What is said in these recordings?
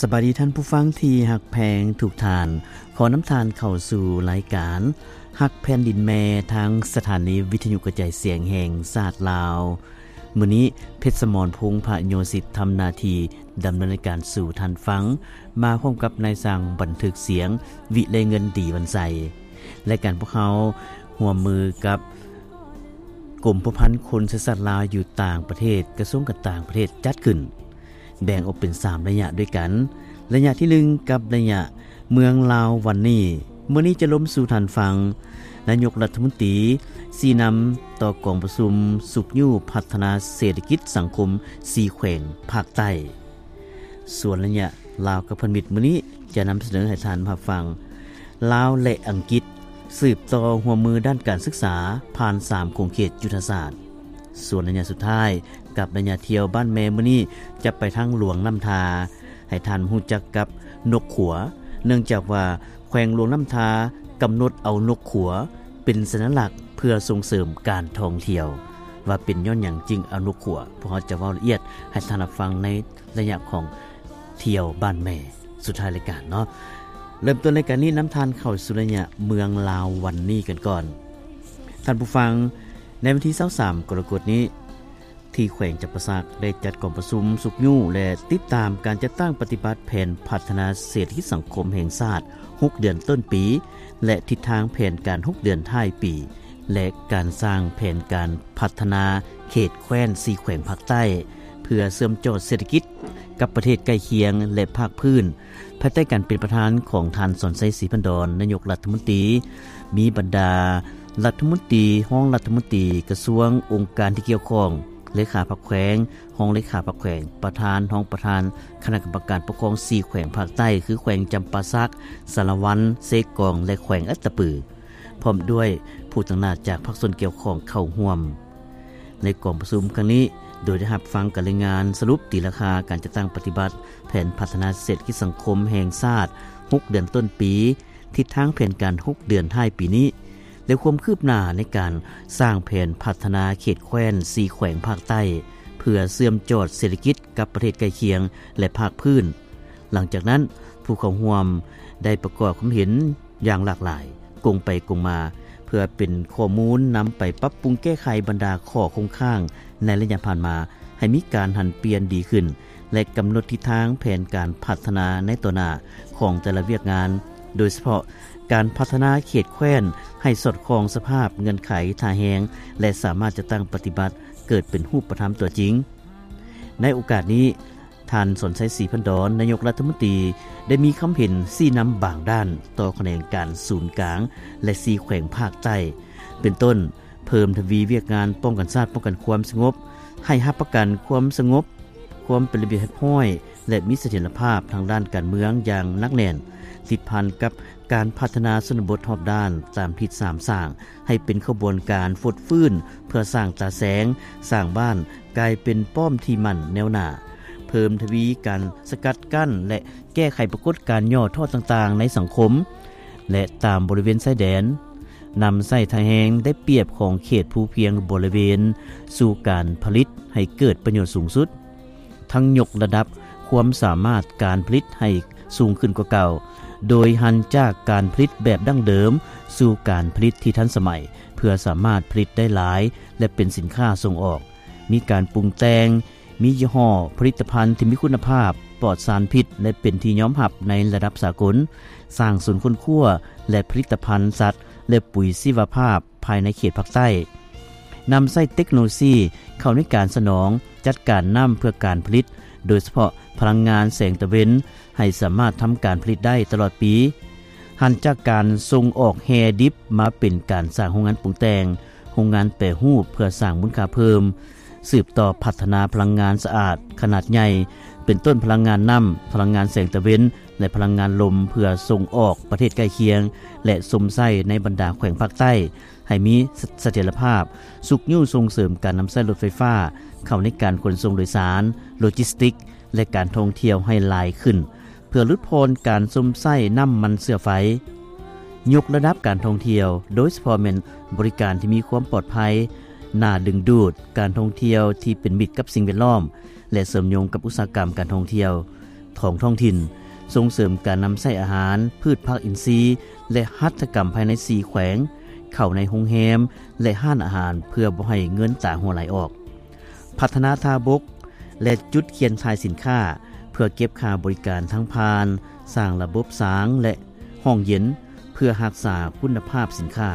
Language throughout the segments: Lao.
ສະບາຍດີທ່ານຜູ້ຟັງທີ່ຮັກແພງທຸກທ່ານ. ຂໍນຳທ່ານເຂົ້າສູ່ລາຍການຮັກແຜ່ນດິນແມ່ ທາງສະຖານີວິທະຍຸກະຈາຍສຽງແຫ່ງຊາດລາວ. ມື້ນີ້ ເພັດສະໝອນ ພົງພະໂຍສິດ ທຳໜ້າທີ່ດຳເນີນລາຍການສູ່ທ່ານຟັງ ມາພ້ອມກັບນາຍຊ່າງບັນທຶກສຽງ ວິໄລເງິນ ດີວັນໄຊ ລາຍການພວກເຮົາຮ່ວມມືກັບ ກົມພົວພັນຄົນເຊື້ອຊາດລາວຢູ່ຕ່າງປະເທດ, ກະຊວງການຕ່າງປະເທດຈັດຂຶ້ນ, ແບ່ງອອກເປັນສາມໄລຍະດ້ວຍກັນ. ໄລຍະທີໜຶ່ງ ກັບໄລຍະເມືອງລາວວັນນີ້, ມື້ນີ້ຈະລົມສູ່ທ່ານຟັງ ນາຍົກລັດຖະມົນຕີຊີ້ນຳຕໍ່ກອງປະຊຸມຊຸກຍູ້ພັດທະນາເສດຖະກິດສັງຄົມສີ່ແຂວງພາກໃຕ້. ສ່ວນໄລຍະລາວກັບພັນມິດມື້ນີ້ ຈະນຳສະເໜີໃຫ້ທ່ານຮັບຟັງ ລາວ ແລະ ອັງກິດ ສືບຕໍ່ຮ່ວມມືດ້ານການສຶກສາ ຜ່ານສາມຂົງເຂດຍຸດທະສາດ. ສ່ວນໄລຍະສຸດທ້າຍ ກັບໄລຍະທ່ຽວບ້ານແມ່ມື້ນີ້ ຈະໄປທາງຫຼວງນ້ຳທາ, ໃຫ້ທ່ານຮູ້ຈັກກັບນົກຂົວ, ເນື່ອງຈາກວ່າແຂວງຫຼວງນ້ຳທາກຳນົດເອົານົກຂົວເປັນສັນຍາລັກເພື່ອສົ່ງເສີມການທ່ອງທ່ຽວ. ວ່າເປັນຍ້ອນຫຍັງຈຶ່ງເອົານົກຂົວ, ພວກເຮົາຈະເວົ້າລະອຽດໃຫ້ທ່ານຮັບຟັງໃນໄລຍະຂອງທ່ຽວບ້ານແມ່ ສຸດທ້າຍລາຍການເນາະ. ເລີ່ມຕົ້ນລາຍການນີ້ ນຳທ່ານເຂົ້າສູ່ໄລຍະເມືອງລາວວັນນີ້ກັນກ່ອນ. ທ່ານຜູ້ຟັງ, ໃນວັນທີຊາວສາມ ກໍລະກົດນີ້ ທີ່ແຂວງຈຳປາສັກ ໄດ້ຈັດກອງປະຊຸມຊຸກຍູ້ ແລະ ຕິດຕາມການຈັດຕັ້ງປະຕິບັດແຜນພັດທະນາເສດຖະກິດສັງຄົມແຫ່ງຊາດຫົກເດືອນຕົ້ນປີ ແລະ ທິດທາງແຜນການຫົກເດືອນທ້າຍປີ ແລະ ການສ້າງແຜນການພັດທະນາເຂດແຄວ້ນສີ່ແຂວງພາກໃຕ້ ເພື່ອເຊື່ອມຈອດເສດຖະກິດກັບປະເທດໃກ້ຄຽງ ແລະ ພາກພື້ນ ພາຍໃຕ້ການເປັນປະທານຂອງທ່ານ ສອນໄຊ ສີພັນດອນ ນາຍົກລັດຖະມົນຕີ, ມີບັນດາລັດຖະມົນຕີ, ຮອງລັດຖະມົນຕີ, ກະຊວງ, ອົງການທີ່ກ່ຽວຂ້ອງ, ເລຂາພັກແຂວງ, ຮອງເລຂາພັກແຂວງ, ປະທານ, ຮອງປະທານຄະນະກຳມະການປົກຄອງສີ່ແຂວງພາກໃຕ້ ຄື ແຂວງຈຳປາສັກ, ສາລະວັນ, ເຊກອງ ແລະ ແຂວງອັດຕະປື, ພ້ອມດ້ວຍຜູ້ຕາງໜ້າຈາກພາກສ່ວນກ່ຽວຂ້ອງເຂົ້າຮ່ວມ. ໃນກອງປະຊຸມຄັ້ງນີ້ ໂດຍໄດ້ຮັບຟັງການລາຍງານສະຫຼຸບຕີລາຄາການຈັດຕັ້ງປະຕິບັດແຜນພັດທະນາເສດຖະກິດສັງຄົມແຫ່ງຊາດຫົກເດືອນຕົ້ນປີ, ທິດທາງແຜນການຫົກເດືອນທ້າຍປີນີ້ ແລະ ຄວາມຄືບໜ້າໃນການສ້າງແຜນພັດທະນາເຂດແຄວ້ນສີ່ແຂວງພາກໃຕ້ ເພື່ອເຊື່ອມຈອດເສດຖະກິດກັບປະເທດໃກ້ຄຽງ ແລະ ພາກພື້ນ. ຫຼັງຈາກນັ້ນ, ຜູ້ເຂົ້າຮ່ວມໄດ້ປະກອບຄວາມເຫັນ ຢ່າງຫຼາກຫຼາຍ, ກົງໄປກົງມາ, ເພື່ອເປັນຂໍ້ມູນນຳໄປປັບປຸງແກ້ໄຂບັນດາຂໍ້ຄົງຄ້າງໃນໄລຍະຜ່ານມາ ໃຫ້ມີການຫັນປ່ຽນດີຂຶ້ນ ແລະ ກຳນົດທິດທາງແຜນການພັດທະນາໃນຕໍ່ໜ້າຂອງແຕ່ລະວຽກງານ, ໂດຍສະເພາະການພັດທະນາເຂດແຄວ້ນໃຫ້ສອດຄ່ອງສະພາບເງື່ອນໄຂທ່າແຮງ ແລະ ສາມາດຈັດຕັ້ງປະຕິບັດເກີດເປັນຮູບປະທຳຕົວຈິງ. ໃນໂອກາດນີ້, ທ່ານ ສອນໄຊ ສີພັນດອນ ນາຍົກລັດຖະມົນຕີ ໄດ້ມີຄຳເຫັນຊີ້ນຳບາງດ້ານຕໍ່ຂະແໜງການສູນກາງ ແລະ ສີ່ແຂວງພາກໃຕ້ ເປັນຕົ້ນ ເພີ່ມທະວີວຽກງານປ້ອງກັນຊາດ, ປ້ອງກັນຄວາມສະຫງົບ, ໃຫ້ຮັບປະກັນຄວາມສະຫງົບ, ຄວາມເປັນລະບຽບຮຽບຮ້ອຍ ແລະ ມີສະຖຽນລະພາບທາງດ້ານການເມືອງຢ່າງໜັກແໜ້ນ, ຕິດພັນກັບການພັດທະນາຊົນນະບົດຮອບດ້ານຕາມທິດສາມສ້າງ ໃຫ້ເປັນຂະບວນການຟົດຟື້ນເພື່ອສ້າງຕາແສງ, ສ້າງບ້ານກາຍເປັນປ້ອມທີ່ໝັ້ນແນວໜ້າ, ເພີ່ມທະວີການສະກັດກັ້ນ ແລະ ແກ້ໄຂປາກົດການຫຍໍ້ທໍ້ຕ່າງໆໃນສັງຄົມ ແລະ ຕາມບໍລິເວນຊາຍແດນ, ນຳໃຊ້ທ່າແຮງໄດ້ປຽບຂອງເຂດພູພຽງບໍລິເວນສູ່ການຜະລິດໃຫ້ເກີດປະໂຫຍດສູງສຸດ. ທັງຍົກລະດັບຄວາມສາມາດການຜະລິດໃຫ້ສູງຂຶ້ນກວ່າເກົ່າ, ໂດຍຫັນຈາກການຜະລິດແບບດັ້ງເດີມສູ່ການຜະລິດທີ່ທັນສະໄໝ ເພື່ອສາມາດຜະລິດໄດ້ຫຼາຍ ແລະ ເປັນສິນຄ້າສົ່ງອອກ. ມີການປຸງແຕ່ງ, ມີຍີ່ຫໍ້ຜະລິດຕະພັນທີ່ມີຄຸນນະພາບ, ປອດສານພິດ ແລະ ເປັນທີ່ຍອມຮັບໃນລະດັບສາກົນ, ສ້າງສູນຄົ້ນຄວ້າ ແລະ ຜະລິດຕະພັນສັດ ແລະ ປຸ໋ຍຊີວະພາບ ພາຍໃນເຂດພາກໃຕ້, ນຳໃຊ້ເຕັກໂນໂລຊີເຂົ້າໃນການສະໜອງຈັດການນ້ຳເພື່ອການຜະລິດ, ໂດຍສະເພາະພະລັງງານແສງຕາເວັນ, ໃຫ້ສາມາດທຳການຜະລິດໄດ້ຕະຫຼອດປີ. ຫັນຈາກການສົ່ງອອກແຮ່ດິບມາເປັນການສ້າງໂຮງງານປຸງແຕ່ງ, ໂຮງງານແປຮູບເພື່ອສ້າງມູນຄ່າເພີ່ມ, ສືບຕໍ່ພັດທະນາພະລັງງານສະອາດຂະໜາດໃຫຍ່, ເປັນຕົ້ນພະລັງງານນ້ຳ, ພະລັງງານແສງຕາເວັນ ແລະ ພະລັງງານລົມ ເພື່ອສົ່ງອອກປະເທດໃກ້ຄຽງ ແລະ ຊົມໃຊ້ໃນບັນດາແຂວງພາກໃຕ້ ໃຫ້ມີສະຖຽນລະພາບ, ຊຸກຍູ້ສົ່ງເສີມການນຳໃຊ້ລົດໄຟຟ້າເຂົ້າໃນການຂົນສົ່ງໂດຍສານ, ໂລຈິສຕິກ ແລະ ການທ່ອງທ່ຽວໃຫ້ຫຼາຍຂຶ້ນ, ເພື່ອຫຼຸດຜ່ອນການຊົມໃຊ້ນ້ຳມັນເຊື້ອໄຟ. ຍົກລະດັບການທ່ອງທ່ຽວ, ໂດຍສະເພາະແມ່ນບໍລິການທີ່ມີຄວາມປອດໄພ, ໜ້າດຶງດູດ, ການທ່ອງທ່ຽວທີ່ເປັນມິດກັບສິ່ງແວດລ້ອມ ແລະ ເຊື່ອມໂຍງກັບອຸດສາຫະກຳການທ່ອງທ່ຽວ. ຂອງທ້ອງຖິ່ນ, ສົ່ງເສີມການນຳໃຊ້ອາຫານພືດຜັກອິນຊີ ແລະ ຫັດຖະກຳພາຍໃນສີ່ແຂວງ ເຂົ້າໃນໂຮງແຮມ ແລະ ຮ້ານອາຫານ ເພື່ອບໍ່ໃຫ້ເງິນຕາຮົ່ວໄຫຼອອກ, ພັດທະນາທ່າບົກ ແລະ ຈຸດຂຽນຖ່າຍສິນຄ້າ ເພື່ອເກັບຄ່າບໍລິການທາງຜ່ານ, ສ້າງລະບົບສາງ ແລະ ຫ້ອງເຢັນ ເພື່ອຮັກສາຄຸນນະພາບສິນຄ້າ,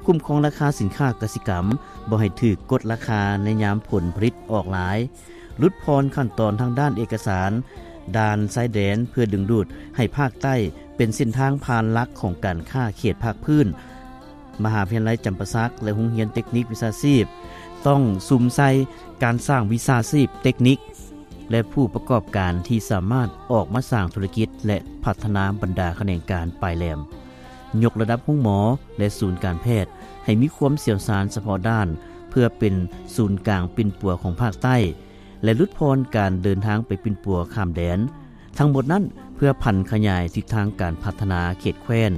ຄຸ້ມຄອງລາຄາສິນຄ້າກະສິກຳ ບໍ່ໃຫ້ຖືກກົດລາຄາໃນຍາມຜົນຜະລິດອອກຫຼາຍ, ຫຼຸດຜ່ອນຂັ້ນຕອນທາງດ້ານເອກະສານ ດ່ານຊາຍແດນ ເພື່ອດຶງດູດໃຫ້ພາກໃຕ້ເປັນເສັ້ນທາງຜ່ານຫຼັກຂອງການຄ້າເຂດພາກພື້ນ. ມະຫາວິທະຍາໄລຈຳປາສັກ ແລະ ໂຮງຮຽນເຕັກນິກວິຊາຊີບ ຕ້ອງສຸມໃສ່ການສ້າງວິຊາຊີບເຕັກນິກ ແລະ ຜູ້ປະກອບການທີ່ສາມາດອອກມາສ້າງທຸລະກິດ ແລະ ພັດທະນາບັນດາຂະແໜງການປາຍແຫຼມ, ຍົກລະດັບໂຮງໝໍ ແລະ ສູນການແພດ ໃຫ້ມີຄວາມຊ່ຽວຊານສະເພາະດ້ານ ເພື່ອເປັນສູນກາງປິ່ນປົວຂອງພາກໃຕ້ ແລະ ຫຼຸດຜ່ອນການເດີນທາງໄປປິ່ນປົວຂ້າມແດນ. ທັງໝົດນັ້ນ ເພື່ອຜັນຂະຫຍາຍທິດທາງການພັດທະນາເຂດແຄວ້ນ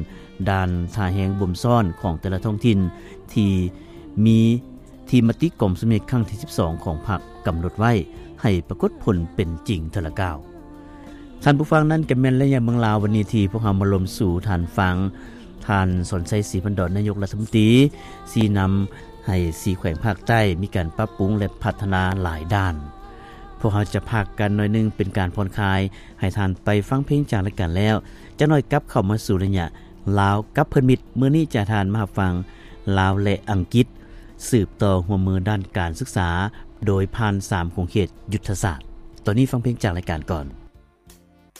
ດ່ານທ່າແຮງບົ່ມຊ້ອນຂອງແຕ່ລະທ້ອງຖິ່ນ ທີ່ມີ ທີ່ມະຕິກອງປະຊຸມໃຫຍ່ຄັ້ງທີສິບສອງຂອງພັກກຳນົດໄວ້ ໃຫ້ປາກົດຜົນເປັນຈິງເທື່ອລະກ້າວ. ທ່ານຜູ້ຟັງ, ນັ້ນກໍແມ່ນໄລຍະເມືອງລາວວັນນີ້ ທີ່ພວກເຮົາມາລົມສູ່ທ່ານຟັງ. ທ່ານ ສອນໄຊ ສີພັນດອນ ນາຍົກລັດຖະມົນຕີ ຊີ້ນຳໃຫ້ສີ່ແຂວງພາກໃຕ້ມີການປັບປຸງ ແລະ ພັດທະນາຫຼາຍດ້ານ. ພວກເຮົາຈະພັກກັນໜ້ອຍໜຶ່ງເປັນການຜ່ອນຄາຍ ໃຫ້ທ່ານໄປຟັງເພງຈາກລາຍການແລ້ວ, ຈັກໜ້ອຍກັບເຂົ້າມາສູ່ໄລຍະລາວກັບເພື່ອນມິດ. ມື້ນີ້ຈະພາທ່ານມາຮັບຟັງ ລາວ ແລະ ອັງກິດ ສືບຕໍ່ຮ່ວມມືດ້ານການສຶກສາ ໂດຍຜ່ານສາມຂົງເຂດຍຸດທະສາດ. ຕອນນີ້ຟັງເພງຈາກລາຍການກ່ອນ.